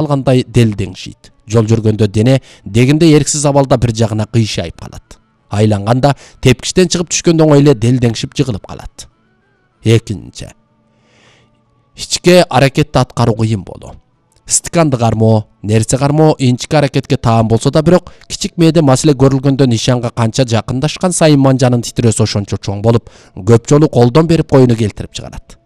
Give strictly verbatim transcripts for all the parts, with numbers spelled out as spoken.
алгандай делдеңшийт. Жол жүргөндө дене дегенде эрксиз абалда бир жагына кыйшайып калат. Айланганда тепкичтен чыгып түшкөндө оңой эле делдеңшип жыгылып калат. Экинчи. Ички аракетти аткаруу кыйын болуу. Стаканды кармоо, нерсе кармоо инчики аракетке таан болсо да, бирок кичик мээде маселе көрүлгөндө нишанга канча жакындашкан сайын манжанын титирөөсү ошончо чоң болуп, көп жолу колдон берип коюуну келтирип чыгарат.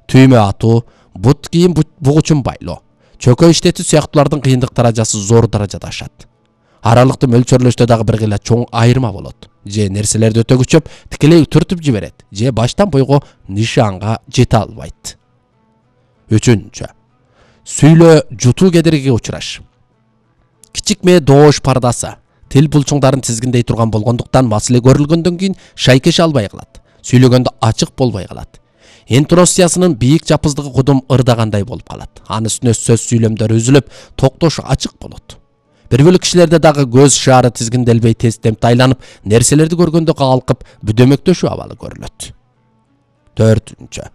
Түймө атуу, бут кийин бугучун байлоо, чөкө иштетүү сыяктуулардын кыйындык даражасы зор даражада ашат. Аралыкты мөлчөрлөштө дагы бир гыйла чоң айырма болот. Же нерселерди өтө күчөп, тикелей түртүп жиберет, же баштан бойго нишанга жете албайт. Үчүнчү. Сүйлөө жутуу кедергиге учураш. Кичик мээ доош пардасы, тил булчуңдарын тизгиндей турган болгондуктан маселе көрүлгөндөн кийин шайкеше албай калат. Сүйлөгөндө ачык болбой калат. Интонациясынын бийик жапыздыгы кудум ырдагандай болуп калат. Анын үстүнө сөз сүйлөмдөрү үзүлүп, токтошу ачык болот. Бир бөлүк кишилерде дагы көз шаары тизгинделбей тез темпте айланып, нерселерди көргөндө калкып, бүдөмөктөшүү абалы көрүлөт. Төртүнчү.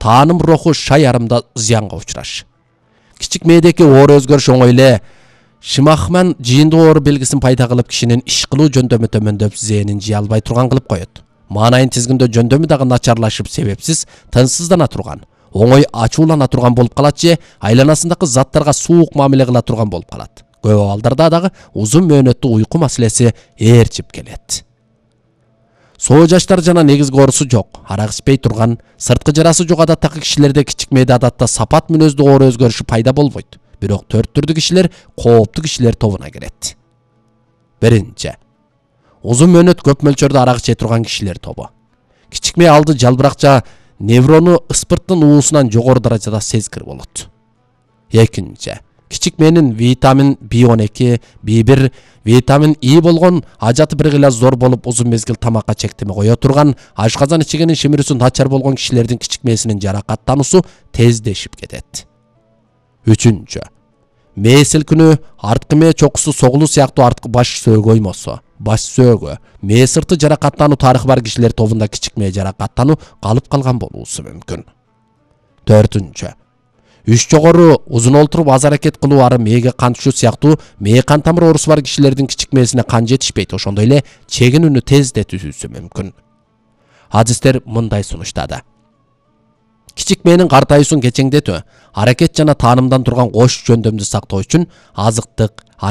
Тааным руху шай арымда зыянга учураш. Кичик мээдеки оор өзгөрүш оңой эле шымахман жыйындуу оору белгисин пайда кылып, кишинин иш кылуу жөндөмү төмөндөп, зээнин жыя албай турган кылып коет. Маанайын тизгиндөө жөндөмү дагы начарлашып, себепсиз тынчсыздана турган, оңой ачуулана турган болуп калат же айланасындагы заттарга суук мамиле кыла турган болуп калат. Көп абалдарда дагы узун мөөнөттүү уйку маселеси ээрчип келет. Соо жаштар жана негизги оорусу жок, арак ичпей турган, сырткы жарасы жок адаттагы кишилерде кичик мээде адатта сапат мүнөздүү оор өзгөрүшү пайда болбойт. Бирок төрт түрдүү кишилер кооптуу кишилер тобуна кирет. Биринчи. Узун мөөнөт көп мөлчөрдө арак иче турган кишилер тобу. Кичик мээ алды жалбыракча неврону ыспырттын уусунан жогору даражада сезгир болот. Экинчи. Кичик мээнин витамин би он эки, би бир, витамин И болгон ажаты бир гыйла зор болуп, узун мезгил тамакка чектеме кое турган, ашказан ичигенин шимирүүсү начар болгон кишилердин кичик мээсинин жаракаттануусу тездешип кетет. Үчүнчү. Мээ силкинүү, арткы мээ чокусу согулуу сыяктуу арткы баш сөөгө оймосо, баш сөөгө, мээ сырты жаракаттануу тарыхы бар кишилер тобунда кичик мээ жаракаттануу калып калган болуусу мүмкүн. Төртүнчү. Үч жогору узун олтуруп аз аракет кылуу ары мээге кан түшүү сыяктуу мээ кан тамыр оорусу бар кишилердин кичик мээсине кан жетишпейт, ошондой эле чегинүүнү тездетүүсү мүмкүн. Адистер мындай сунуштады. Кичик мээнин картайуусун кечеңдетүү, аракет жана таанымдан турган кош жөндөмдү сактоо үчүн азыктык,